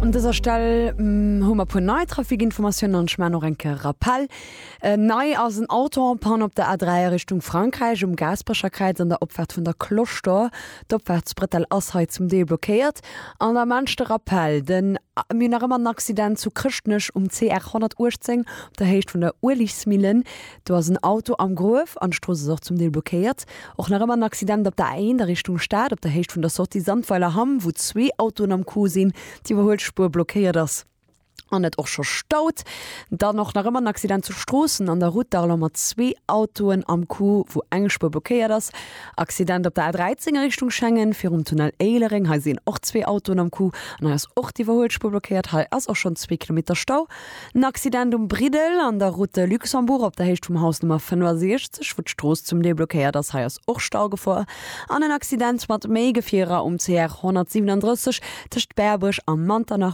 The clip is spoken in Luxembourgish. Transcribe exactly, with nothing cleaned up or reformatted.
Un dëser Stell hu mer puer nei Trafikinformatiounen an ech maachen och eng Kéier Rappel. Nei ass en Auto en panne op der A dräi a Richtung Frankräich um Gaasperecher Kräiz an der Opfaart vun der Cloche d'Or. D'Opfaartsbrëttel ass hei zum Deel blockéiert. An da maan ech de Rappel, den mir hunn nach ëmmer en Accident zu Chrëschtnech um C R honnertuechtzéng op der Héicht vun der Ueligsmillen. Do ass en Auto am Gruef an d'Strooss ass och zum Deel blockéiert. Och nach ëmmer en Accident op der A eent a Richtung Stad op der Héicht vun der Sortie Sandweiler Hamm, wou zwee Autoen am Coup sinn, d'Iwwerhuelspuer blockéiert ass an et och scho staut. Dann och nach ëmmer en Accident zu Stroossen an der Route d'Arlon mat zwee Autoen am Coup, wou eng Spuer blockéiert ass. Accident op der A dräizéng a Richtung Schengen virum Tunnel Éilereng, hei sinn och zwee Autoen am Coup an hei ass och d'Iwwerhuelspuer blockéiert, hei ass och schonn zwee Kilometer Stau. En Accident um Briddel an der Route de Luxembourg op der Héicht vum Haus Nummer fënnefasiechzeg, wou d'Strooss zum Deel blockéiert ass, hei ass och Staugefor. An en Accident mat méi Gefierer um C R honnertsiwwenandrësseg tëscht Berbuerg a Manternach.